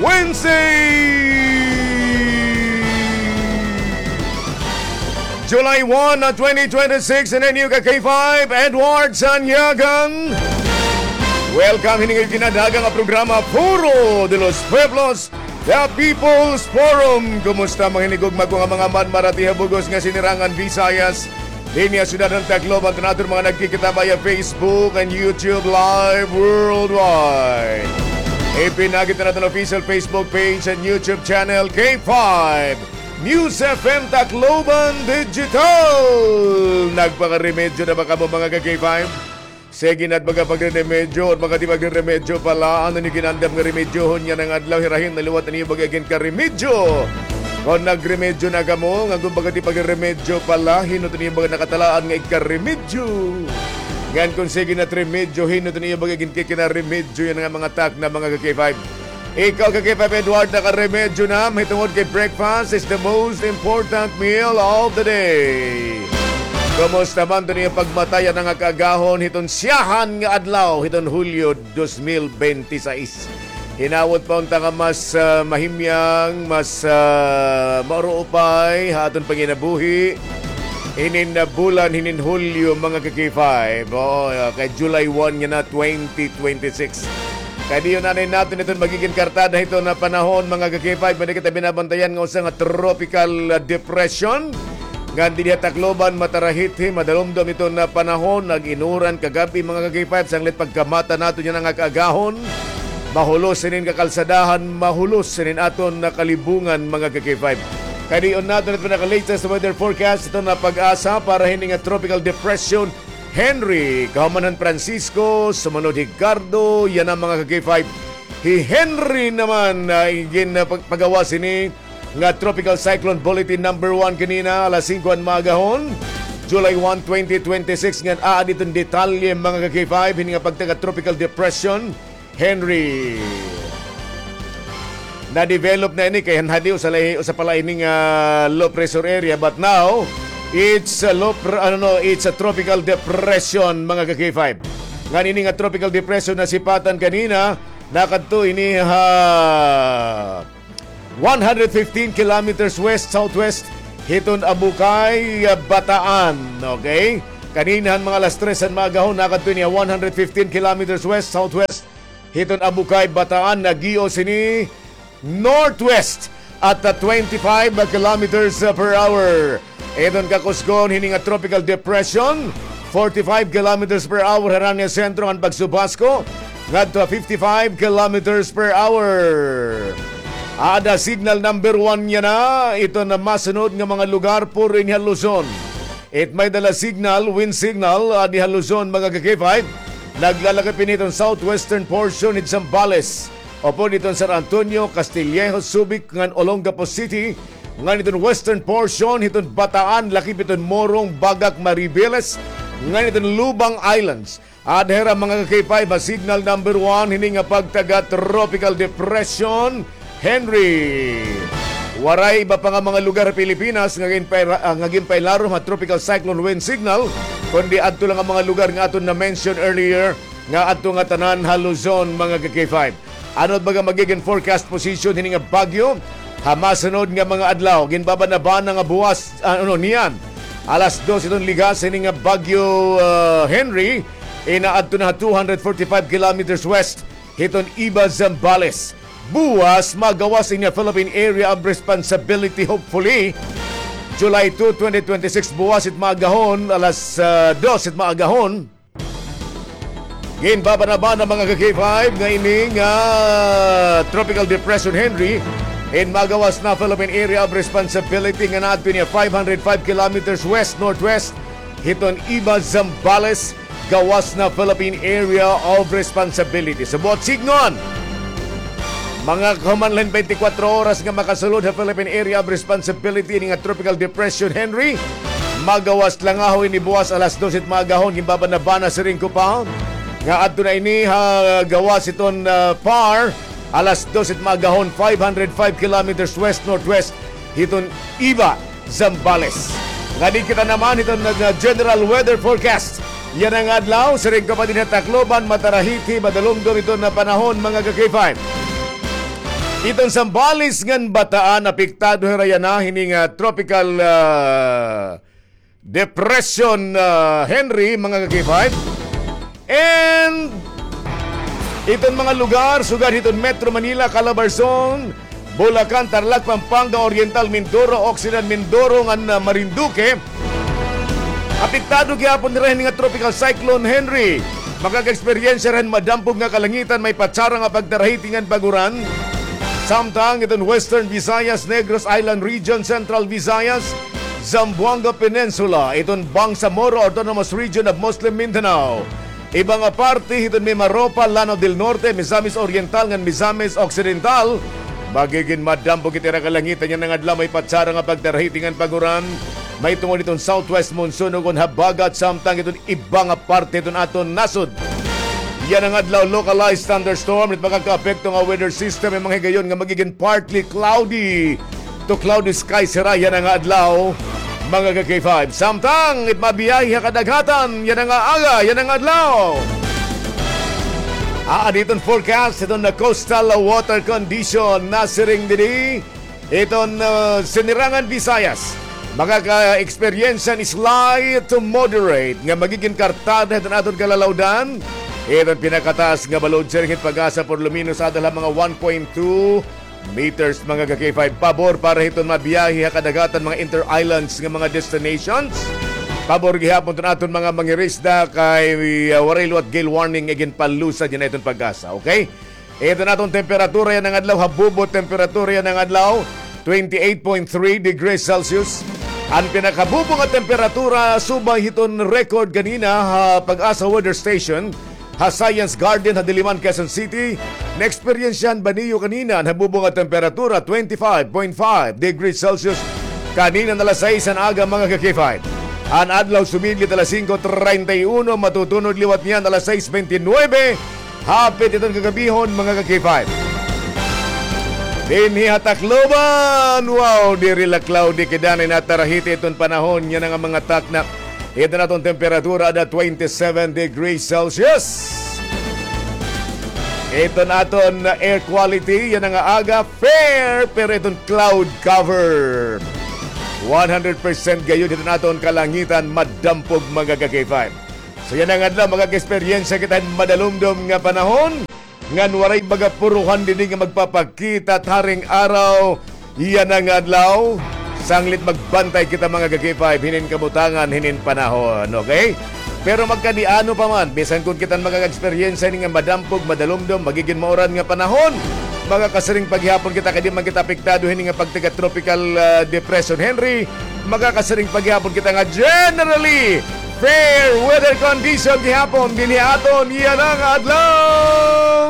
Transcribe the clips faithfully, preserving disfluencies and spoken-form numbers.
Wednesday, July one, twenty twenty-six, in a new ka K five, Edward Sanyagang. Welcome hini nga ginadagang nga programa, Foro de los Pueblos, The People's Forum. Kumusta, mga hinigugma ko nga mga madmara tiha bug-os nga sinirangan Visayas? Dinhi ha syudad han Tacloban, han aton mga nagkikita via Facebook and YouTube live worldwide. Ipinagi ta an aton official Facebook page and YouTube channel, K five News F M Tacloban Digital. Nagpakaremedyo na ba kamo, mga ka-K five? Sige na it baga pagreremedyo, or baga it pagreremedyo pa la. Ano an iyo gin-andam nga remedyohon yana nga adlaw? Hirahin na liwat an iyo baga ginkaremedyo. Kon nagremedyo na kamo, ngan kon baga it pagreremedyo pa la, hin-o it an iyo baga nakatalaan nga ikaremedyo? Ngan kon sige na it remedyo, hin-o it an iyo baga ginkikinaremedyo yana nga mga takna, mga ka-K five? Ikaw, ka-K five Edward, nakaremedyo na, mahitungod kay breakfast is the most important meal of the day. Kumusta man it an iyo pagmatay yana nga kaagahon hiton syahan nga adlaw hiton Hulyo dos mil bente sais? Hinawot pa unta nga mas, ah, mahimyang, mas, ah, mauruupay ha aton panginabuhi hinin, ah, bulan hinin Hulyo, mga ka-K five. Oo, ah, kay July one yana, twenty twenty-six. Kay diyon anay naton iton magigin kartada hiton nga panahon, mga ka-K five, may-ada kita binabantayan nga usa nga tropical, ah, depression. Ngan dinhi ha Tacloban, matarahithi, madalumdom iton nga panahon, nag-inuran kagab-i, mga ka-K five, sanglit pagkamata naton yana nga kaagahon. Mahulos inin kakalsadahan, mahulos inin aton nga kalibungan, mga ka-K five. Kay diyon naton iton pinaka-latest weather forecast, iton nga PAGASA para hini nga tropical depression Henry, kahuman han Francisco, sumunod Ricardo, yana, mga ka-K five. Hi Henry naman, ah, gin, ah, pag-, pagawas hini nga Tropical Cyclone Bulletin number one kanina, alas singko han maagahon, July one, twenty twenty-six, ngan aada iton detalye, mga ka-K five, hini nga pagtaga Tropical Depression Henry. Na-develop na ini kay han hadi usa la, usa pa la ini nga low pressure area, but now it's a low pr-, ano, no, it's a tropical depression, mga ka-K five. Ngan ini nga tropical depression nasipatan kanina, nakadto ini ha one hundred fifteen kilometers west-southwest hiton Abucay, ah, Bataan. Okay? Kanina han mga alas tres han maagahon, nakadto ini ha one hundred fifteen kilometers west-southwest hiton Abucay, Bataan, nag-ios ini northwest at, ah, twenty-five kilometers per hour. Iton kakusgon hini nga tropical depression, forty-five kilometers per hour harani ha sentro ngan pagsubhasko ngadto ha fifty-five kilometers per hour. Aada signal number one yana, iton masunod nga mga lugar puro ini ha Luzon. It may-ada la signal, wind signal, aada ha Luzon, mga ka-K five. Naglalakip ini hiton southwestern portion hit Zambales, upod hiton San Antonio, Castillejo, Subic, ngan Olongapo City, ngan hiton western portion hiton Bataan, lakip hiton Morong, Bagak, Mariveles, ngan hiton Lubang Islands. Aada hira, mga ka-K five, ha signal number one hini nga pagtaga Tropical Depression Henry. Waray iba pa nga mga lugar ha Pilipinas nga ginpaila-, ah, nga ginpailarom ha Tropical Cyclone Wind Signal, kundi adto lang ang mga lugar nga aton na-mention earlier, nga adto ngatanan ha Luzon, mga ka-K five. Ano it baga magigin forecast position hini nga bagyo ha masunod nga mga adlaw? Ginbabanabana nga buwas, ah, ano, niyan alas dos iton ligas hini nga bagyo, ah, Henry, inaadto na ha two hundred forty-five kilometers west hiton Iba, Zambales. Buwas, magawas ini ha Philippine Area of Responsibility, hopefully. July two, twenty twenty-six, buwas it maagahon, alas, ah, dos it maagahon. Ginbabanabana, mga ka-K five, nga ini nga Tropical Depression Henry in magawas na Philippine Area of Responsibility nga naadto niya five hundred five kilometers west-northwest hiton Iba, Zambales, gawas na Philippine Area of Responsibility. Sa buot sidngon, mga kahuman la hin twenty-four oras nga makasulod ha Philippine Area of Responsibility ini nga Tropical Depression Henry, magawas langaho ini buwas alas dos it maagahon, ginbabanabana siring ko pa nga adto na ini ha gawas hiton, ah, PAR, alas dos it maagahon, five hundred five kilometers west-northwest hiton Iba, Zambales. Ngadi kita naman hiton, ah, general weather forecast yana nga adlaw, siring ko pa dinhi ha Tacloban, matarahithi, madalumdom iton nga panahon, mga ka-K five. Iton Zambales ngan Bataan, apektado hira yana hini nga tropical, ah, depression, ah, Henry, mga ka-K five. And iton mga lugar sugad hiton Metro Manila, Calabarzon, Bulacan, Tarlac, Pampanga, Oriental Mindoro, Occidental Mindoro ngan, ah, Marinduque, apektado gihapon hira hini nga Tropical Cyclone Henry. Makaka-eksperyensya hira hin madampog nga kalangitan, may patsara nga pagtarahiti ngan pag-uran. Samtang iton Western Visayas, Negros Island Region, Central Visayas, Zamboanga Peninsula, iton Bangsamoro Autonomous Region of Muslim Mindanao, iba nga parte hiton Mimaropa, Lanao del Norte, Misamis Oriental ngan Misamis Occidental, magigin madampog it ira kalangitan yana nga adlaw, may patsara nga pagtarahiti ngan pag-uran. Mahitungod hiton southwest monsoon ukon habagat, samtang iton iba nga parte hiton aton nasod. Yana nga adlaw, localized thunderstorm it makakaapekto nga weather system, may mga higayon nga magigin partly cloudy to cloudy skies hira yana nga adlaw, mga ka-K five. Samtang it mabiyahe ha kadaghatan yana nga aga, yana nga adlaw. Aadi iton forecast hiton nga coastal water condition, nasiring didi iton, ah, Sinirangan Visayas. Makaka-eksperyensya hin slight to moderate nga magigin kartada hiton aton kalalawdan. Iton pinakataas nga balod, siring hit PAGASA, por lo menos adal ha mga one point two meters, mga ka-K five. Pabor para hiton mabiyahe ha kadagatan, mga inter-islands nga mga destinations. Pabor gihapon iton aton mga mangirisda kay, ah, waray liwat gale warning nga ginpalusad yana hiton PAGASA, okay? Iton aton temperatura yana nga adlaw, habubo temperatura yana nga adlaw, twenty-eight point three degrees Celsius. An pinakabubo nga temperatura subay hiton record kanina ha PAGASA Weather Station, ha Science Garden, ha Diliman, Quezon City. Naeksperyensyahan ba niyo kanina an habubo nga temperatura, twenty-five point five degrees Celsius? Kanina alas sais han aga, mga ka-K five. An adlaw sumidlit alas singko treinta y uno, matutunod liwat niyan alas sais bente nuebe. Hapit iton kagabihon, mga ka-K five. Dinhi ha Tacloban, wow, diri la cloudy, kay danay natarahiti iton panahon yana nga mga takna. Iton aton temperatura ada twenty-seven degrees Celsius. Iton aton air quality yana nga aga, fair, pero iton cloud cover, one hundred percent gayod hiton aton kalangitan, madampog, mga ka-K five. So yana nga adlaw, makaka-eksperyensya kita hin madalumdom nga panahon, ngan waray baga puruhan didi nga magpapakita taring araw yana nga adlaw. Sanglit magbantay kita, mga ka-K five, hinin kabutangan, hinin panahon, okay? Pero magkadi-ano pa man, bisan kon kita an makaka-eksperyensya hini nga madampog, madalumdom, magigin mauran nga panahon, makakasiring pa gihapon kita kay di man kita apektado hini nga pagtiga tropical, ah, depression Henry. Makakasiring pa gihapon kita nga generally fair weather condition gihapon dinhi ha aton yana nga adlaw.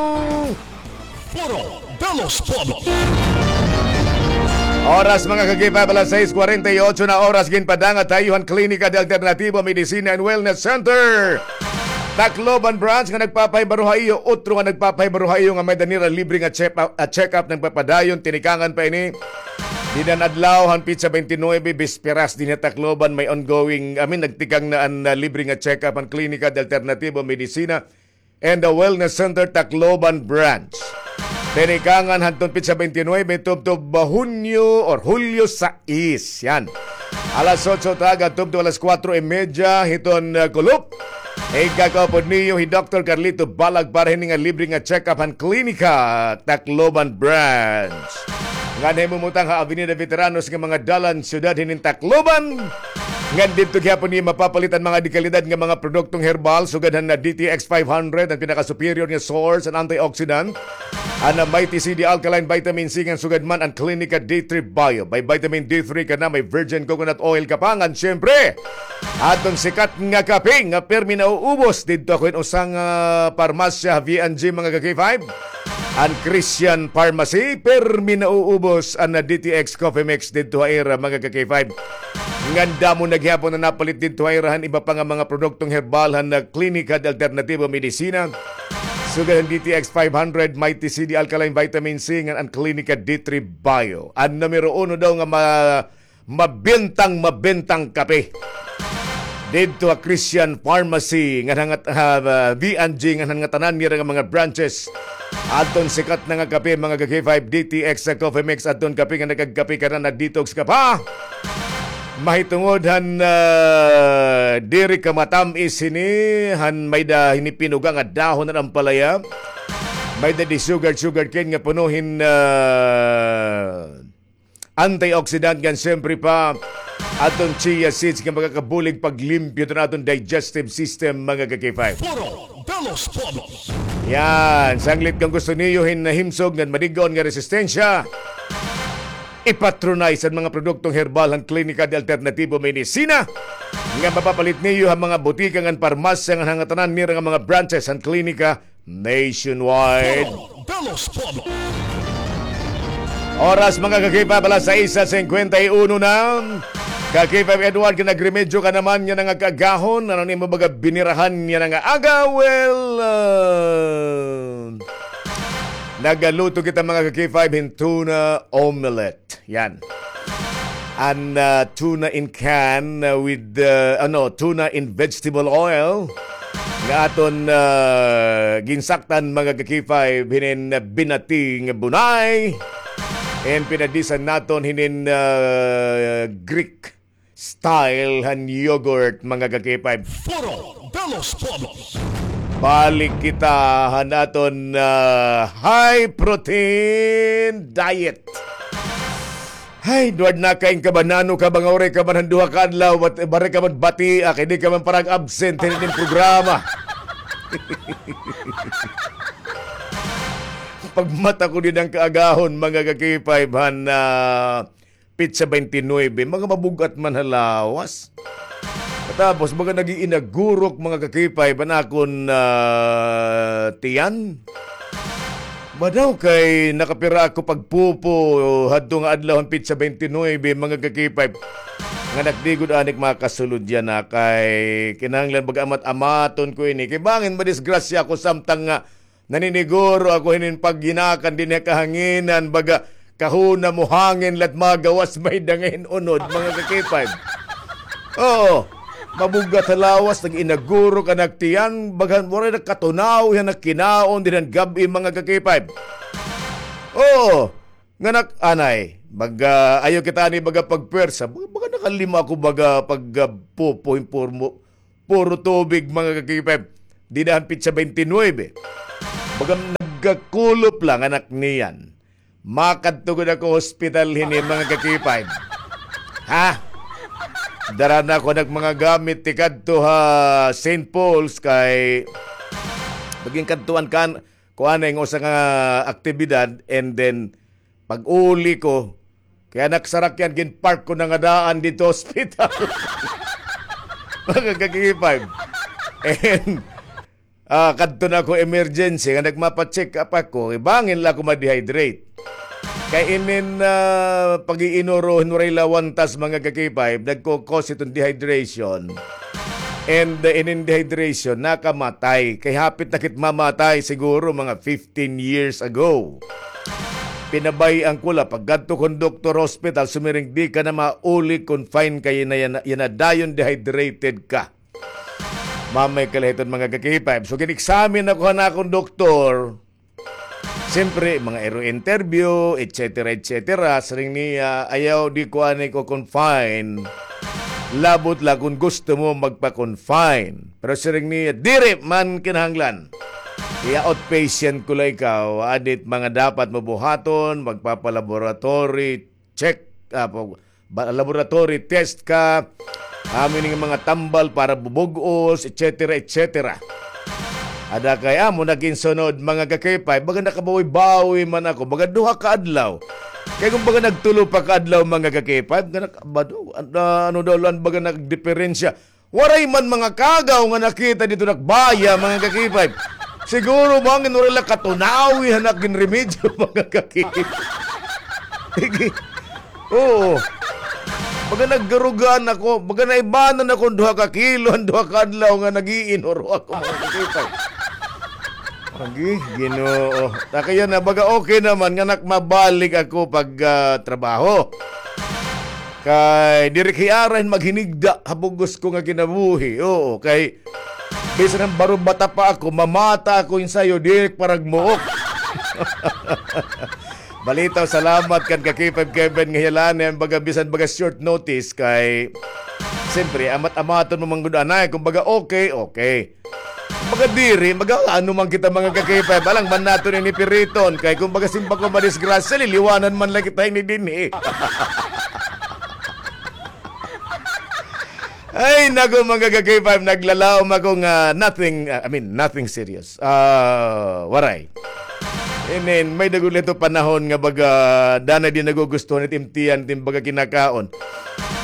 Foro de los Pueblos. Oras, mga ka-K five, alas sais kwarenta y otso na oras, ginpadangat ha iyo han Klinika de Alternativo Medicina and Wellness Center, Tacloban Branch, nga nagpapahibaro ha iyo, utro nga nagpapahibaro ha iyo nga may-ada nira libre nga check-up, ah, check-up nagpapadayon, tinikangan pa ini. Dinhi han adlaw han petsa bente nuebe, bisperas, dinhi ha Tacloban, may ongoing, I mean, nagtikang na an, ah, libre nga check-up han Klinika de Alternativo Medicina and the Wellness Center, Tacloban Branch. Tinikangan hadton petsa bente nuebe, tubtob ba Hunyo or Hulyo sais. Yan. Alas otso taga tubtob alas kuwatro y medya hiton, ah, kulop. Igkakaupod niyo hi Doktor Carlito Balag para hini nga libre nga check-up han Klinika, Tacloban Branch. Ngan himumutang ha Avenida Veteranos nga mga dalan, syudad hinin Tacloban. Ngan didto gihapon niyo mapapalit an mga dekalidad nga mga produktong herbal, sugad han D T X five hundred, an pinaka-superior nga source an antioxidant. An Mighty C D Alkaline Vitamin C, ngan sugad man an Clinica D three Bio. May vitamin D three ka na, may virgin coconut oil ka pa, ngan siyempre, aton sikat nga kape nga permi nauubos. Didto ako hin usa nga parmasya, V and G, mga ka-K five. An Christian Pharmacy, permi nauubos an D T X Coffee Mix didto ha ira, mga ka-K five. Ngan damo na gihapon an napalit didto ha ira han iba pa nga mga produktong herbal han Klinika de Alternativo Medicina. Sugad han D T X five hundred, Mighty C D Alkaline Vitamin C, ngan an Klinika D three Bio. An numero uno daw nga ma-, mabentang, mabentang kape. didto ha Christian Pharmacy, ngan han, ah, V and G, ngan han ngatanan nira nga mga branches. Adton sikat na nga kape, mga ka-K five, D T X sa Coffee Mix, adton kape nga nagkagkape ka na, nag-detox ka pa. Mahitungod han, ah, diri ka matam-is hini, han may-ada hini pinuga nga dahon han ampalaya. May-ada di sugar, sugar cane nga puno hin, ah, antioxidant ngan siyempre pa adton chia seeds nga makakabulig paglimpyo han aton digestive system, mga ka-K five. Foro de los Pueblos. Yan, sanglit kon gusto niyo hin nahimsog ngan madig-on nga resistensya, ipatronay sa mga produktong herbal han Klinika de Alternativo Medicina nga mapapalit niyo ha mga butika ngan parmasya ngan han ngatanan nira nga mga branches han Klinika nationwide. Foro de los Pueblos. Oras, mga ka-K five, alas sais singkwenta y uno na. Ka-K five Edward, kay nagremedyo ka naman yana nga kaagahon. Ano an imo baga binirahan yana nga aga? Well, ah, nagaluto kita, mga ka-K five, hin tuna omelette. Yan. An, ah, tuna in can, ah, with, ah, ano, tuna in vegetable oil. Nga aton, ah, ginsaktan, mga ka-K five, hinin, ah, binati nga bunay. And pinadisan naton hinin, ah, Greek style han yogurt, mga ka-K five. Foro de los Pueblos. Balik kita han aton, ah, high protein diet. Hay, Edward, nakain ka ba, nano ka ba nga waray ka man han duha ka adlaw, bat-, waray ka man batia, kay di ka man parang absent hinin programa. Pagmata ko dida han kaagahon, mga ka-K five, han, ah, petsa twenty-nine, mga mabug-at man ha lawas. Tapos, baga nag-iinagurok, mga ka-K five, an akon, ah, tiyan. Ba daw kay nakapira ako pagpupo hadto nga adlaw han petsa twenty-nine, mga ka-K five. Nga nakdigod anik makasulod yana kay kinahanglan baga amat-amaton ko ini. Kay bangin madisgrasya ako samtang nga naniniguro ako hinin paghinakan dinhi ha kahanginan, baga kahuna mohangin la it magawas may-ada nga hin-unod, mga ka-K five. Oo. Mabug-at ha lawas, nag-inagurok an ak tiyan, baga waray na katunaw, yana kinaon dinhi han gab-i, mga ka-K five. Oo. Nga nak-, anay, baga, ayaw kita ani baga pagpwersa, baga, baga nakalima ako baga pag, ah, pupo, hin puro, puro tubig, mga ka-K five. Dida han petsa twenty-nine. Baga nagkakulop la an ak niyan. Makadto gud ako hospital hini, mga ka-K five. Ha? Dara na ako an ak mga gamit tikadto ha Saint Paul's kay magin kadtuan kan kuan nga usa nga aktibidad, and then pag-uli ko, kay an ak sarakyan, gin-park ko na nga daan didto hospital. Mga ka-K five. And, ah, kadto na ako emergency, nga nagmapa-check up ako, kay bangin la ako ma-dehydrate. Kay inin, ah, pag-iinuro hin waray la wantas, mga ka-K five, nagko-cause iton dehydration. And, uh, inin dehydration, nakamatay. Kay hapit na kit mamatay siguro mga fifteen years ago. Pinabay-an ko la, pagkadto ko han doktor hospital, sumiring, "Di ka na mauli confine kay yana, yana, yana dayon dehydrated ka." Mamay kalahiton, mga ka-K five. So, gin-examine ako han akon doktor. Siyempre, mga iro interview, et cetera, et cetera. Siring niya, "Ayaw, di ko ani ko confine. Labot la kon gusto mo magpa-confine." Pero siring niya, "Diri man kinahanglan. I-outpatient ko la ikaw. Adit mga dapat mo buhaton, magpapa-laboratory check, ah, pag-, ba-, laboratory test ka, amo ini nga mga tambal para bubug-os, et cetera, et cetera." Ada kay amo na ginsunod, mga ka-K five, baga nakabawi-bawi man ako, baga duha ka adlaw. Kay kon baga nagtulo pa ka adlaw, mga ka-K five, nga nak-, ba daw, ano, ano daw la an baga nagdiperensya. Waray man mga kagaw nga nakita didto nagbaya, mga ka-K five. Siguro, bangin waray la katunawi han ak ginremedyo, mga ka-K five. Sige. Oo. Baga naggarugan ako, baga naibanan ako duha ka kilo, an duha ka adlaw nga nag-iinuro ako, mga ka-K five. Agi, Ginoo. Ta kay yana, baga okay naman, nga nak-, mabalik ako pag, ah, trabaho. Kay diri ko hiara hin maghinigda ha bug-os ko nga kinabuhi. Oo, kay bisan han baro bata pa ako, mamata ako hin sayo, diri paragmuok. Balitaw, salamat kan ka K five Kevin nga hiyalaan na hin baga bisan baga short notice kay siyempre, amat-amaton mo man gud anay, kumbaga okay, okay. Baga diri, mag-aano man kita mga ka-K five, alang man naton ini piriton, kay kumbaga simba ko madisgrasya, liliwanan man la kita ini dinhi. Ay, naku, mga ka-K five, naglalaom ako nga nothing, uh, I mean, nothing serious. Ah, waray. I mean, may-ada gud la ito panahon nga baga, danay di nagugustuhan it im tiyan, it im baga kinakaon.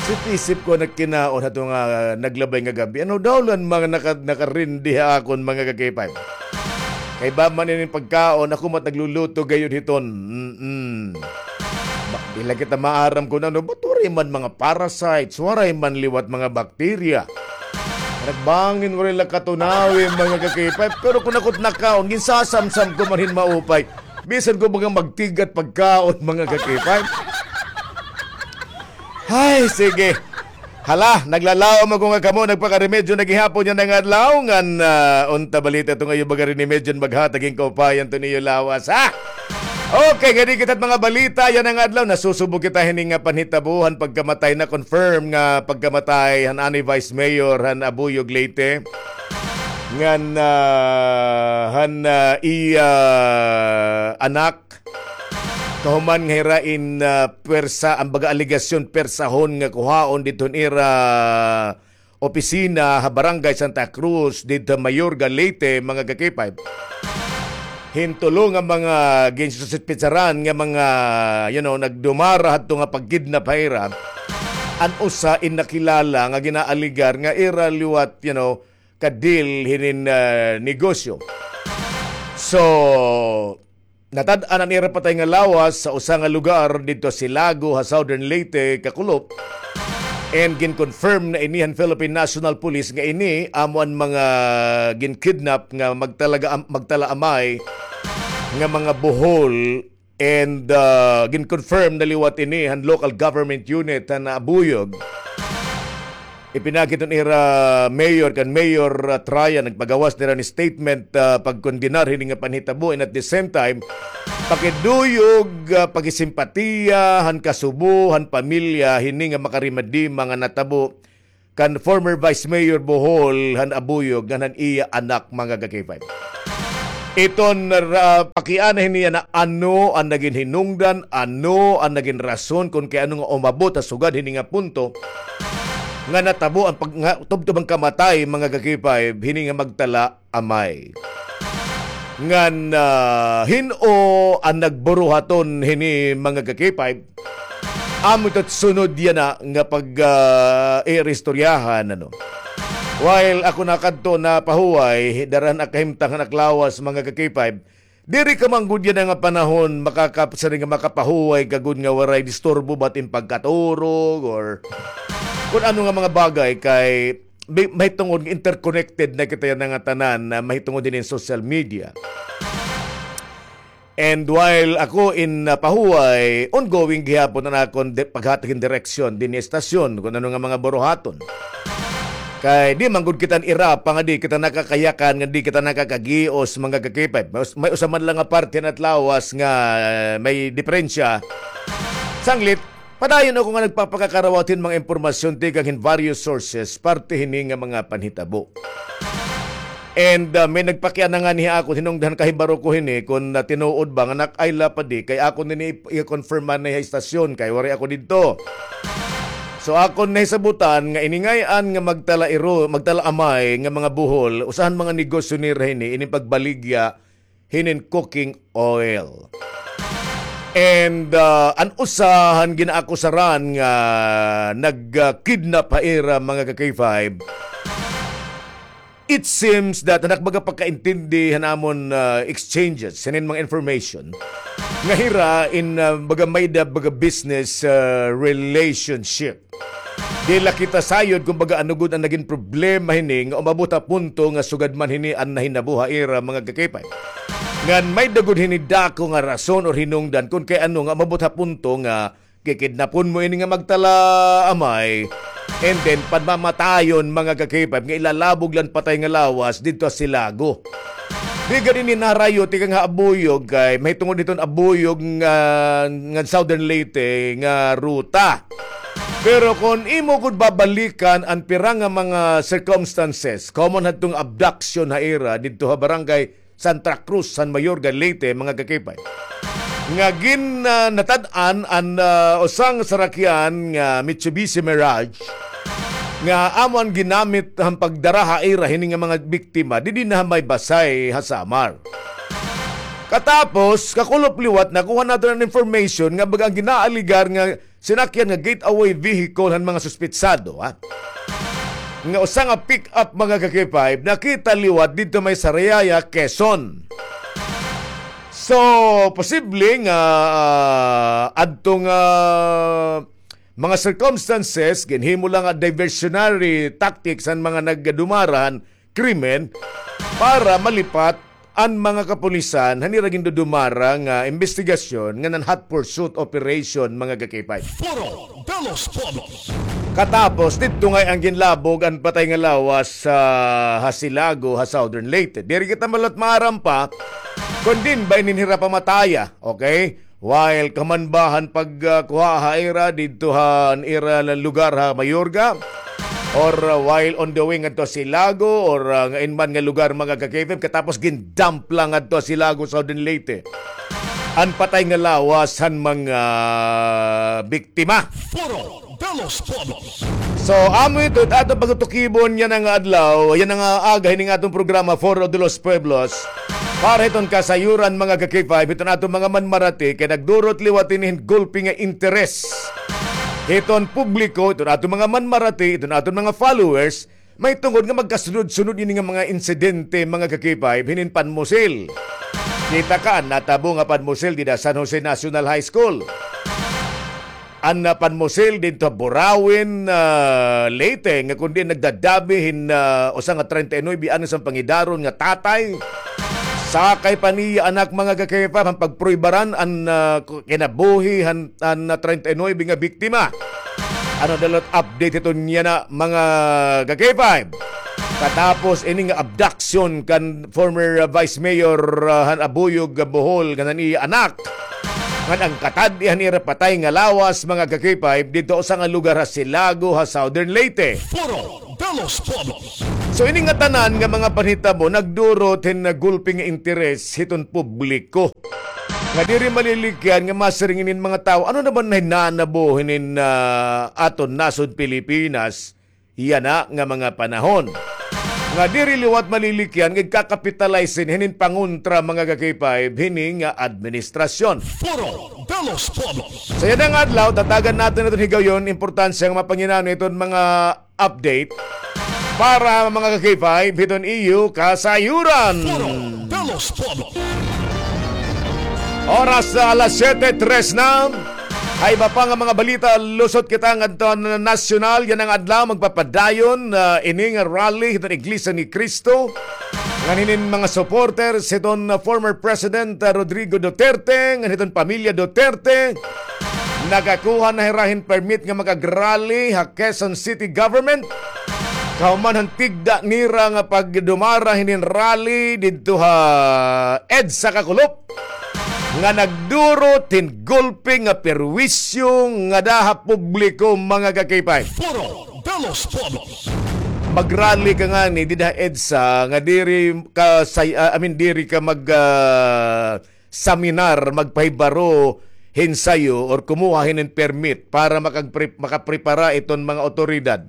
Isip-isip ko nagkinaon hato nga naglabay nga gab-i. Ano daw lan mga naka-, nakarindi ha akon mga ka-K five? Kay ba man ini pagkaon, ako mat nagluluto gayud hiton. Mm-mm. Ba, di la kita maaram kun ano, ba't waray man mga parasites, waray man liwat mga bakterya. Nagbangin waray la katunawi mga ka-K five. Pero kun ako it nakaon, ginsasamsam ko man hin maupay. Bisan ko mga magtigat pagkaon, mga ka-K five. Ay, sige. Hala, naglalaom ako nga kamo nagpakaremedyo na gihapon yana nga adlaw. Ngan, ah, unta balita ito nga iyo baga rinimedyo maghatag hin kaupayan to niyo lawas, ha? Okay, ngadi kita it mga balita yana nga adlaw. Nasusubo kita hini nga panhitabo han pagkamatay, na-confirm nga pagkamatay han anay Vice Mayor han Abuyog, Leyte. Ngan, ah, han, ah, iya anak, kahuman nga hira in, ah, pwersa, an baga alegasyon, pwersahon nga kuhaon didto han ira opisina ha Barangay Santa Cruz, didto ha Mayorga, Leyte, mga ka-K five. Hin tulo nga mga ginsususpetsaran nga mga, you know, nagdumara hadto nga pag-kidnap ha ira. An usa in nakilala nga ginaalegar nga ira liwat, you know, ka-deal hinin, ah, negosyo. So, natad-an an ira patay nga lawas sa usa nga lugar didto ha Silago, ha Southern Leyte, kakulop. And gin-confirm na ini han Philippine National Police nga ini amo an mga gin-kidnap nga magtalaga-, magtala-amay nga mga buhol. And, ah, gin-confirm na liwat ini han local government unit han Abuyog. Ipinakit an ira mayor kan Mayor, ah, Traya, nagpagawas nira hin statement, ah, pagkondenar hini nga panhitabo, and at the same time, pakiduyog, ah, pakisimpatiya han kasubo han pamilya hini nga makarimadima nga natabo kan former Vice Mayor Bohol han Abuyog ngan han iya anak, mga ka-K five. Iton ra-, pakiana hini yana ano an nagin hinungdan, ano an nagin rason kon kay ano nga umabot ha sugad hini nga punto nga natabo an pag-, nga tubtob an kamatay, mga ka-K five, hini nga magtala-amay. Ngan, ah, hin-o an nagburuhaton hini, mga ka-K five? Amo ito it sunod yana nga pag, ah, iristoryahan, ano. While ako nakadto napahuway, dara han ak kahimtang han ak lawas, mga ka-K five, diri ka man gud yana nga panahon makaka-, siring nga makapahuway ka gud nga waray disturbo ba it im pagkaturog or kun ano nga mga bagay kay bi-, mahitungod nga interconnected na kita yana nga tanan na mahitungod hinin social media. And while ako in, uh, pahuway, ongoing gihapon an akon di-, paghatag hin direksyon dinhi ha estasyon kun ano nga mga buruhaton. Kay di man gud kita irapa nga di kita nakakayakan, nga di kita nakakagios, mga ka-K five. May us-, may usa man la nga parte han at lawas nga, uh, may diperensya. Sanglit, padayon ako nga nagpapakakarawat hin mga impormasyon tikang hin various sources, parte hini nga mga panhitabo. And, ah, may nagpakiana ngani ha akon, hinungdan kahibaro ko hini, kun, ah, tinuod ba nga nak-, ay lapad di, kay akon ini i-, i-confirm man ha istasyon, kay waray ako didto. So, akon nahisabutan nga ini ngay-an nga magtala-iro-, magtala-amay nga mga buhol, usa han mga negosyo nira hini, ini pagbaligya hinin cooking oil. And, uh, an usa han ginaakusaran nga nag-, uh, kidnap ha ira, mga ka-K five, it seems that han ak baga pagkaintindi han amon, uh, exchanges, hinin mga information, nga hira in, uh, baga may-ada baga business, uh, relationship. Di la kita sayod kon baga ano gud an nagin problema hini nga umabot ha punto nga sugad man hini an nahinabo ha ira, mga ka-K five. Ngan may-ada gud hini dako nga rason or hinungdan kon kay ano nga umabot ha punto nga Kikidnapon mo ini nga magtalaamay, and then panmamatayon, mga ka-K five, nga ilalabog la an patay nga lawas didto ha Silago. Di gad ini naharayo tikang ha Abuyog, kay mahitungod hiton Abuyog nga, nga Southern Leyte nga ruta. Pero kon imo gud babalikan an pira nga mga circumstances, common hadtong abduction ha ira didto ha barangay Santa Cruz, San Mayorga, Leyte, mga ka-K five, nga gin, ah, natad-an an, ah, usa nga sarakyan nga Mitsubishi Mirage nga amo an ginamit han pagdara ha ira hini nga mga biktima didi na ha may Basay ha Samar. Katapos, kakulop liwat, nakuha naton an information nga baga an ginaaligar nga sinakyan nga getaway vehicle han mga suspetsado, ha? Nga usa nga pick-up, mga ka-K five, nakita liwat didto may Sariaya, Quezon. So, posible nga, ah, adto nga mga circumstances, ginhimo la nga diversionary tactics han mga nagdumara han krimen para malipat an mga kapulisan han ira gindudumara nga imbestigasyon ngan an hot pursuit operation, mga ka-K five. Foro de los Pueblos. Katapos, didto ngay-an ginlabog an patay nga lawas ha, ha Silago, ha Southern Leyte. Diri kita malat maaram pa kon diin ba ini hira pamataya, okay? While kahuman ba han pagkuha ha ira didto han ira lugar ha Mayorga, or, uh, while on the way ngadto ha Silago, or, uh, ngain man nga lugar, mga ka-K five, katapos gin-dump la ngadto ha Silago, Southern Leyte, an patay nga lawas han mga biktima. Foro de los Pueblos. So, amo ito it aton pagtukibon yana nga adlaw, yana nga aga hining aton programa, Foro de los Pueblos. Para hiton kasayuran, mga ka-K five, hiton aton mga manmarati, kay nagdurot liwat ini hin gulpi nga interes hiton publiko, hiton aton mga manmarati, hiton aton mga followers, mahitungod nga magkasunod-sunod ini nga mga insidente, mga ka-K five, hinin panmusil. Kita ka, natabo nga panmusil dida San Jose National High School. An, ah, panmusil didto ha Burauen, ah, Leyte, nga kon diin nagdadabi hin, ah, usa nga treinta y nuebe anyos an pangidaron nga tatay. Sakay pa niya anak, mga ka-K five, han pagpruibaran an, ah, ku-, kinabuhi han, han, ah, treinta y nuebe nga biktima. Ano daw it update hiton yana, mga ka-K five? Katapos ini nga abduction kan former, ah, Vice Mayor, ah, han Abuyog, ah, Bohol, ngan an iya anak, ngan an katad-i han ira patay nga lawas, mga ka-K five, didto usa nga lugar ha Silago, ha Southern Leyte. Foro de los Pueblos. So, ini nga tanan nga mga panhitabo nagdurot hin gulpi nga interes hiton publiko. Nga diri malilikyan nga masiring inin mga tawo, ano na ba an nahinanabo hinin, ah, aton nasod Pilipinas yana nga mga panahon. Nga diri liwat malilikyan nga igkakapitalize hinin pangontra, mga ka-K five, hini nga administrasyon. Foro de los Pueblos. Sa yana nga adlaw, tatagan naton iton higayon, importansya nga mapanginano iton mga update para, mga ka-K five, hiton iyo kasayuran. Foro de los Pueblos. Oras na alas siyete tres na. Ha iba pa nga mga balita, lusot kita ngadto han nasyonal. Yana nga adlaw, magpapadayon, ah, ini nga rally hiton Iglesia ni Cristo ngan hinin mga supporters hiton, ah, former President, ah, Rodrigo Duterte ngan hiton pamilya Duterte. Nakakuha na hira hin permit nga makag-rally ha Quezon City Government. Kahuman han tigda nira nga pagdumara hinin rally didto ha EDSA kakulop, nga nagdurot hin gulpi nga perwisyo ngada ha publiko, mga ka-K five. Foro de los Pueblos. Mag-rally ka ngani dida ha EDSA nga diri ka say-, ah, I mean, diri ka mag, ah, seminar, magpahibaro hin sayo or kumuha hinin permit para makagpre-, makaprepara iton mga awtoridad.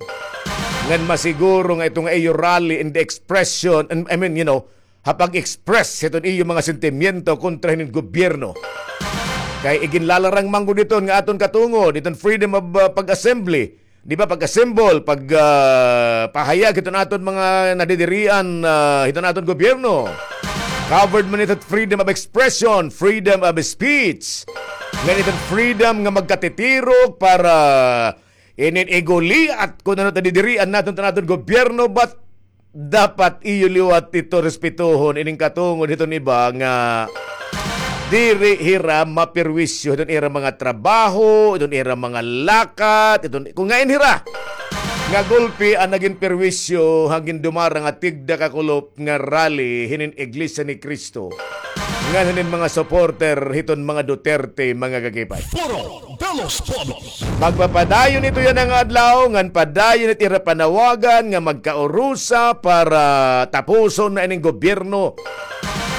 Ngan masiguro nga ito nga iyo rally in the expression, and, I mean, you know, ha pag-express hiton iyo mga sentimiento kontra hinin gobyerno. Kay iginlalarang man gud iton nga aton katungod, iton freedom of, uh, pag-assembly, di ba, pag-assemble, pag, uh, pahayag hiton aton mga nadidirian, uh, hiton aton gobyerno. Covered man iton freedom of expression, freedom of speech. Ngan iton freedom nga magkatitirok para inin iguliat kon ano it nadidirian naton hiton aton gobyerno, but dapat iyo liwat ito respetohon, ining katungod hiton iba nga diri hira maperwisyo hiton ira mga trabaho, hiton ira mga lakat, hiton, kon ngain hira nga gulpi an nagin perwisyo han gindumara nga tigda ka kulop nga rally hinin Iglesia ni Cristo ngan hinin mga supporter hiton mga Duterte, mga kakipay. Foro de los Pueblos. Magpapadayon ito yana nga adlaw, ngan padayon it ira panawagan nga magkaurusa para tapuson na ining gobyerno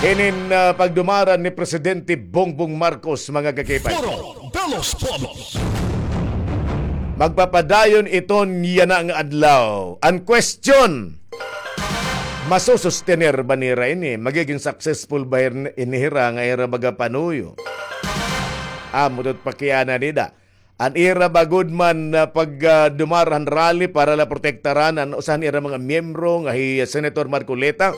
hinin, ah, pagdumara ni Presidente Bongbong Marcos, mga kakipay. Foro de los Pueblos. Magpapadayon iton yana nga adlaw. An question, masusustener ba nira ini? Magigin successful ba hin-, ini hira nga ira baga panuyo? Amo ito it pakiana nida. An ira ba gud man na pag, ah, dumara han rally para la protektaran an usa han ira mga miyembro nga hi Senator Marcoleta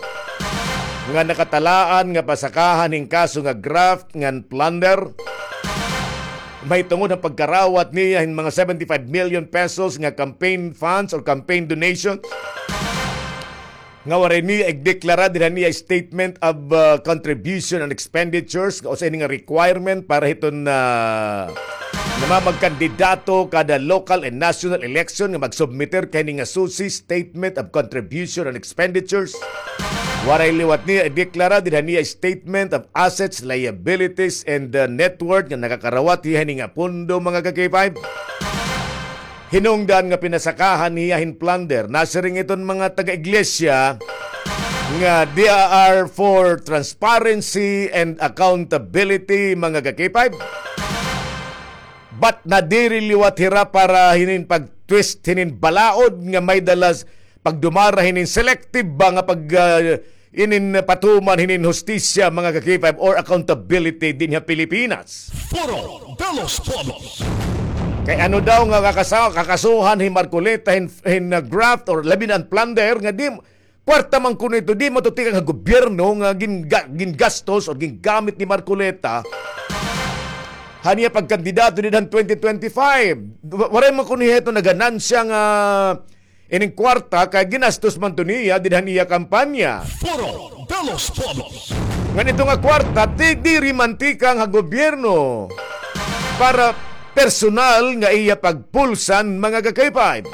nga nakatalaan nga pasakahan hin kaso nga graft ngan plunder mahitungod han pagkarawat niya hin mga seventy-five million pesos nga campaign funds or campaign donations nga waray niya igdeklara dinhi han iya statement of, uh, contribution and expenditures, nga usa ini nga requirement para hiton, uh, namamagkandidato kada local and national election nga magsubmiter kay ini nga susi, statement of contribution and expenditures. Waray liwat niya ideklara dinhi han iya statement of assets, liabilities, and, uh, net worth nga nakakarawat hiya hini nga pondo, mga ka-K five. Hinungdan nga pinasakahan hiya hin plunder. Nasiring iton mga taga-iglesia nga they are for transparency and accountability, mga ka-K five. But nadiri liwat hira para hinin pag-twist hinin balaod nga may dalas pagdumara hinin selective ba nga pag, ah, inin patuman hinin hustisya, mga ka-K five, or accountability dinhi ha Pilipinas. Foro de los Pueblos. Kay ano daw nga kakasa-, kakasuhan hi Marcoleta hin, hin, uh, graft or labi na an plunder nga di, kwarta man kuno ito, di man ito tikang ha gobyerno nga gin-, ga-, gingastos or gingamit ni Marcoleta han iya pagkandidato dinhi han twenty twenty-five. Wa-, waray man kuno ito naganansya nga ining kwarta kay ginastos man to niya dinhi han iya kampanya. Foro de los Pueblos. Ngan ito nga kwarta, ti-, diri man tikang ha gobyerno para personal nga iya pagpulsan, mga ka-K five.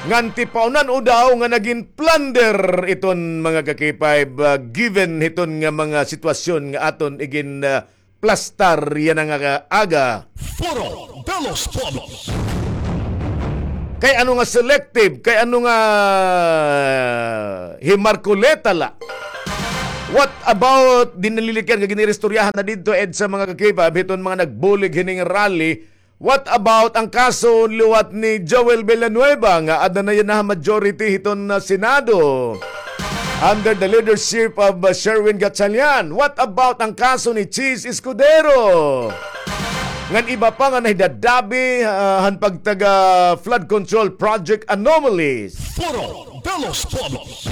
Ngan tipaunan-o daw nga nagin plunder iton, mga ka-K five, ah, given hiton nga mga sitwasyon nga aton igin, ah, plastar yana nga aga. Foro de los Pueblos. Kay ano nga selective? Kay ano nga hi Marcoleta la? What about, di nalilikyan nga giniristoryahan na didto, EDSA, mga ka-K five, hiton mga nagbulig hining rally? What about an kaso liwat ni Joel Villanueva nga ada na yana ha majority hiton, ah, Senado under the leadership of, uh, Sherwin Gatchalian? What about an kaso ni Chiz Escudero? Ngan iba pa nga nahidadabi, uh, han pagtaga flood control project anomalies. Foro de los Pueblos.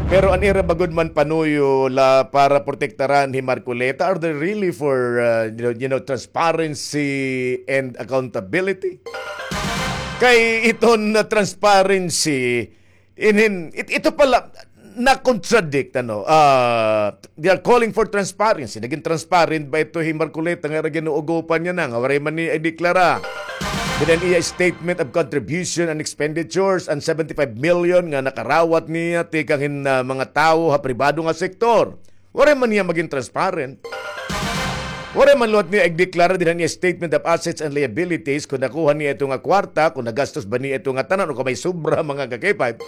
Pero an ira ba gud man panuyo la para protektaran hi Marcoleta? Are they really for, uh, you know, you know, transparency and accountability? Kay iton nga transparency, inin, it-, ito pala, na-contradict, ano, ah, they are calling for transparency. Nagin transparent ba ito hi Marcoleta nga ira ginuugopan niya na, nga waray man niya ideklara dinhi han iya statement of contribution and expenditures an seventy-five million nga nakarawat niya tikang hin, ah, mga tawo ha pribado nga sektor? Waray man niya magin transparent. Waray man liwat niya igdeklara dinhi han iya statement of assets and liabilities kon nakuha niya ito nga kwarta, kon nagastos ba niya ito nga tanan o kon may sobra, mga ka-K five.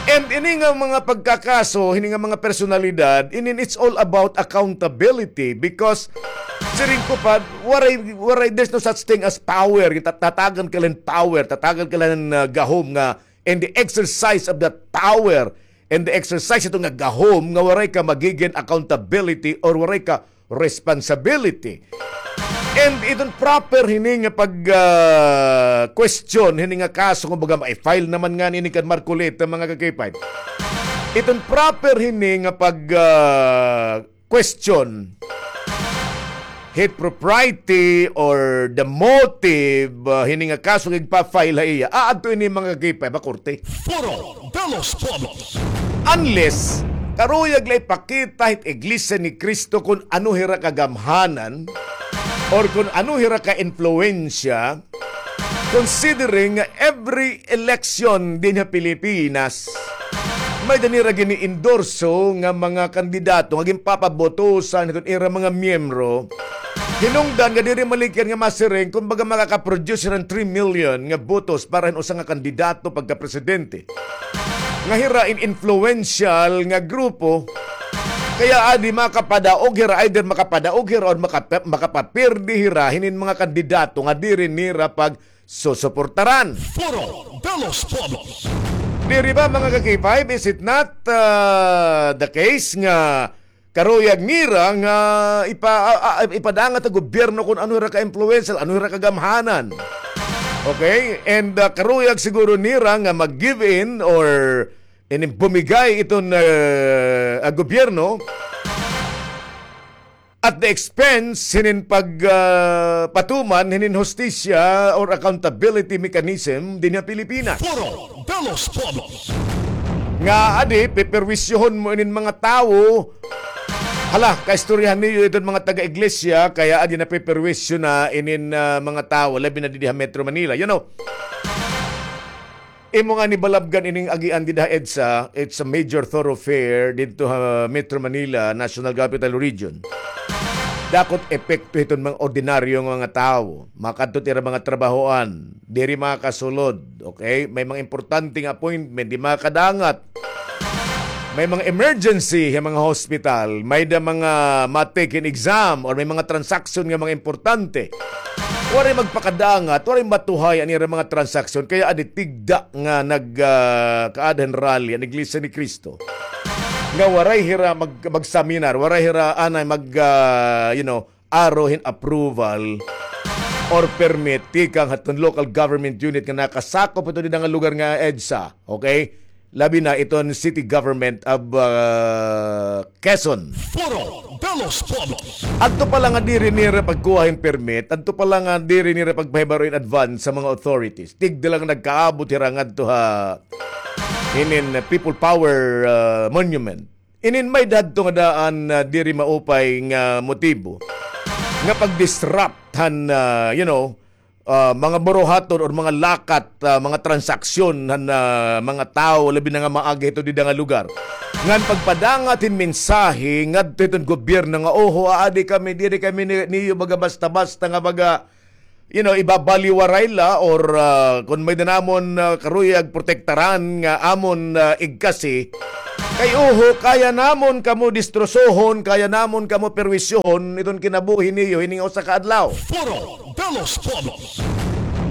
And ini nga mga pagkakaso, ini nga mga personalidad, inin it's all about accountability because siring ko pa, waray, waray, there's no such thing as power. Tat-, tatagan ka la hin power, tatagan ka la hin, ah, gahom nga in the exercise of that power, in the exercise ito nga gahom nga waray ka magigin accountability or waray ka responsibility. And iton proper hini nga pag, ah, question hini nga kaso, kumbaga, ma-file naman ngani ini kan Marcoleta, mga ka-K five. Iton proper hini nga pag, ah, question hit propriety or the motive, ah, hini nga kaso nga igpa-file ha iya, aadto ini, mga ka-K five, ha korte. Foro de los Pueblos. Unless karuyag la ipakita hit Iglesia ni Cristo kon ano hira kagamhanan or kon ano hira ka-impluwensya, considering nga every election dinhi ha Pilipinas, may-ada nira gini-endorso nga mga kandidato nga ginpapabotosan hiton ira mga miyembro. Hinungdan nga diri malikyan nga masiring, kumbaga, makaka-produce hira hin three million nga botos para hin usa nga kandidato pagkapresidente. Nga hira in influential nga grupo, kay adi makapadaog hira, either makapadaog hira or makapa-, makapapirdi hira hinin mga kandidato nga diri nira pagsusuportaran. Foro de los Pueblos. Diri ba, mga ka-K five, is it not, uh, the case nga karuyag nira nga ipa-, ah, ah, ipadangat ha gobyerno kon ano hira ka-influential, ano hira kagamhanan. Okay? And, ah, karuyag siguro nira nga mag-give in or ini bumigay iton, ah, ah, gobyerno at the expense hinin pag, ah, patuman hinin hustisya or accountability mechanism dinhi ha Pilipinas. Foro de los Pueblos. Nga adi, peperwisyohon mo inin mga tawo. Hala, kaistoryahan niyo iton mga taga-iglesia, kay adi napeperwisyo na inin, ah, mga tawo, labi na didi ha Metro Manila. You know, imo nga nibalabgan ining agian dida ha EDSA, it's a major thoroughfare didto ha Metro Manila, National Capital Region. Dakot epekto hiton mga ordinaryo nga mga tawo. Makadto it ira mga trabahoan, diri makasulod, okay? May mga importante nga appointment, di makadangat. May mga emergency ha mga hospital, may-ada mga ma-take hin exam, or may mga transaction nga mga importante. Waray magpakadangat, waray matuhay an ira mga transaction, kay adi tigda nga nag, ah, kaada hin rally an Iglesia ni Cristo. Nga waray hira mag-, mag-seminar, waray hira anay mag, ah, you know, aro hin approval or permit tikang hiton local government unit nga nakasakop hiton dida nga lugar nga EDSA, okay? Labi na iton City Government of, ah, Quezon. Foro de los Pueblos. Adto pa la nga diri nira pagkuha hin permit, adto pa la nga diri nira pagpahibaro in advance ha mga authorities. Tigda la nga nagkaabot hira ngadto ha hinin People Power, ah, Monument. Inin may-ada hadto nga daan, ah, diri maupay nga motibo nga pag-disrupt han, ah, you know, ah, mga buruhaton or mga lakat, ah, mga transaksyon han, ah, mga tawo, labi na nga maagi hito dida nga lugar. Ngan pagpadangat hin mensahe ngadto hiton gobyerno nga, "Oho, aadi kami, diri kami ni-, niyo baga basta-basta nga baga, you know, ibabaliwaray la or, ah, kon may-ada namon, ah, karuyag protektaran nga amon, ah, igkasi. Kay oho, kaya namon kamo distrosohon, kaya namon kamo perwisyohon iton kinabuhi niyo hining usa ka adlaw." Foro de los Pueblos.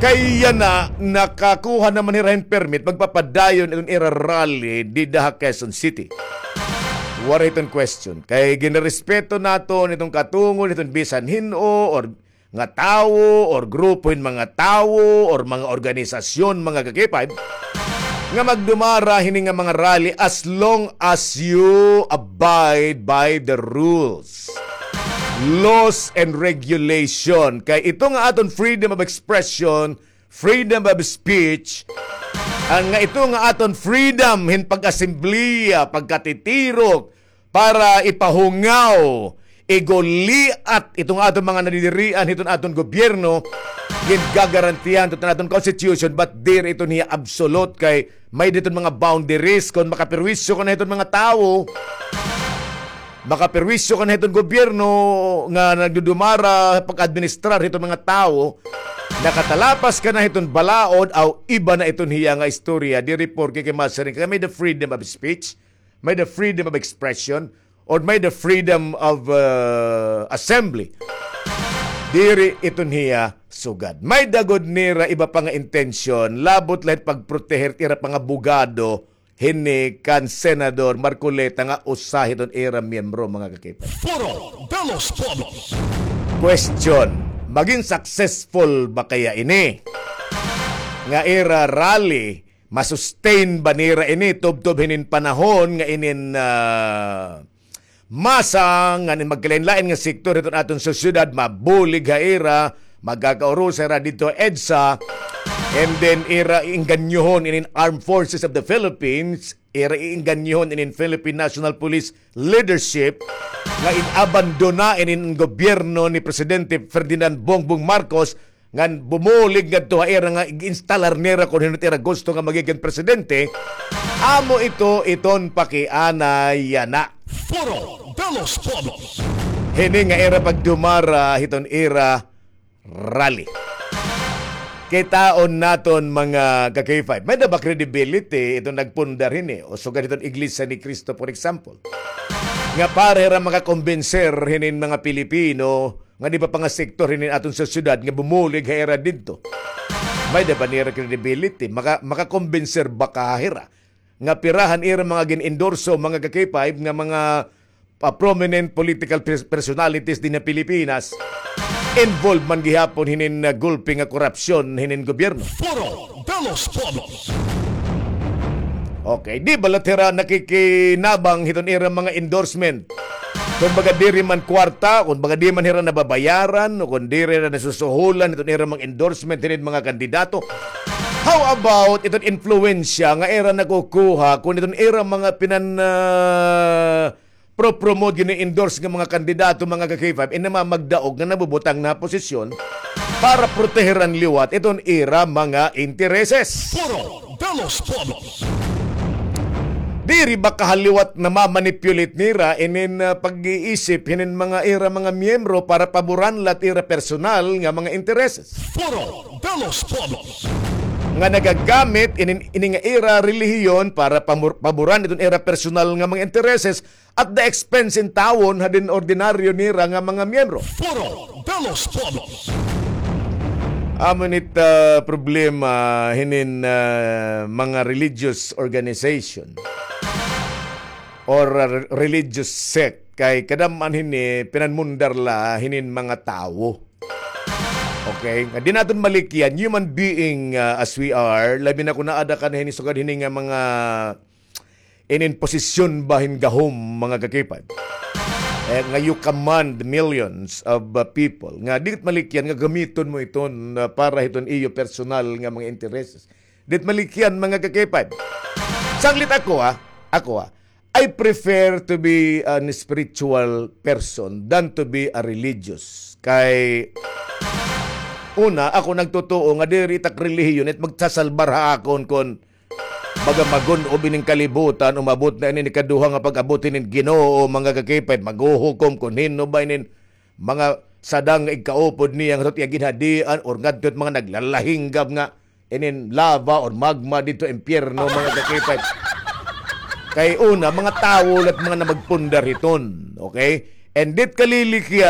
Kay yana, nakakuha naman hira hin permit, magpapadayon iton ira rally dida ha Quezon City. Waray iton question. Kay ginirespeto naton iton katungod hiton bisan hin-o or nga tawo or grupo hin mga tawo or mga organisasyon, mga ka-K five, nga magdumara hini nga mga rally as long as you abide by the rules, laws and regulation. Kay ito nga aton freedom of expression, freedom of speech, an nga ito nga aton freedom hin pag-asembleya, pagkatitirok, para ipahungaw, iguliat iton aton mga nadidirian hiton aton gobyerno, gingagarantiyahan hiton aton constitution, but diri iton hiya absolute kay may-ada iton mga boundaries. Kon makaperwisyo ka na hiton mga tawo, makaperwisyo ka na hiton gobyerno nga nagdudumara pag-administrar hiton mga tawo, nakatalapas ka na hiton balaod, aw iba na iton hiya nga istorya. Diri porke kay masiring ka, may-ada freedom of speech, may-ada freedom of expression, or may-ada freedom of, uh, assembly. Diri iton hiya sugad. May-ada gud nira iba pa nga intensyon, labot la hit pagproteher it ira pa nga abogado hini kan Senador Marcoleta nga usa hiton ira miyembro, mga ka-K five. Foro de los Pueblos. Question, magin successful ba kaya ini nga ira rally? Ma-sustain ba nira ini tubtob hinin panahon nga inin, ah, masa ngan in magkalain-lain nga sektor hiton aton sosyedad mabulig ha ira, magkakaurusa hira didto ha EDSA, and then ira engganyohon inin Armed Forces of the Philippines, ira iinganyohon inin Philippine National Police leadership nga in-abandona inin gobyerno ni Presidente Ferdinand Bongbong Marcos, ngan bumulig ngadto ha ira nga ig-instalar nira kon hin-o it ira gusto nga magigin presidente. Amo ito iton pakiana yana. Foro de los Pueblos. Hini nga ira pagdumara hiton ira rally. Kitaon naton, mga ka-K five. May-ada ba credibility iton nagpundar hini? O sugad hiton Iglesia ni Cristo, for example. Nga para hira makakumbinser hinin mga Pilipino nga iba pa nga sektor hinin aton sosyedad nga bumulig ha ira didto. May-ada ba nira credibility? Maka-, makakumbinser ba ka hira? Nga pira han ira mga gin-endorso, mga ka-K five, nga mga, ah, prominent political pers-, personalities dinhi ha Pilipinas, involved man gihapon hinin, ah, gulpi nga korupsyon hinin gobyerno. Foro de los Pueblos. Okay, di ba la hira nakikinabang hiton ira mga endorsement? Kon baga diri man kwarta, kon baga di man hira nababayaran, o kon diri na nasusuhulan hiton ira mga endorsement hinin mga kandidato. How about iton influensya nga ira nakukuha kon iton ira mga pinan, ah, pro-promote, gini-endorse nga mga kandidato, mga ka-K five, in namamagdaog nga nabubutang na posisyon para proteheran liwat iton ira mga intereses? Foro de los Pueblos. Diri ba kahaliwat namamanipulate nira inin, ah, pag-iisip hinin mga ira mga miyembro para paboran la it ira personal nga mga intereses? Foro de los Pueblos. Nga nagagamit inin, ini nga ira relihiyon para pamur-, paboran iton ira personal nga mga intereses at the expense in tawon hadin ordinaryo nira nga mga miyembro. Foro de los Pueblos. Amo ini it, ah, problema hinin, ah, mga religious organization or, ah, re-, religious sect. Kay kadam-an hini pinanmundar la hinin mga tawo. Okay? Nga di naton malikyan, human being, ah, as we are, labi na kon aada ka na hini sugad hini nga mga inin posisyon ba hin gahom, mga ka-K five. Eh, nga you command millions of, uh, people. Nga di malikyan nga gamiton mo iton, uh, para hiton iyo personal nga mga intereses. Di malikyan, mga ka-K five. Sanglit ako, ah. Ako, ah. I prefer to be an spiritual person than to be a religious. Kay, una, ako nagtutuo nga diri it ak relihiyon it magsasalbar ha akon kon baga magun-ob inin kalibutan, umabot na ini ikaduha nga pag-abot hinin Ginoo, mga ka-K five, maghuhukom kon hin-o ba inin mga sadang nga igkaupod niya ngadto it iya ginhadian or ngadto it mga naglalahinggab nga inin lava or magma didto impyerno, mga ka-K five. Kay una, mga tawo la it mga namagpundar hiton, okay? And di it kalilikya,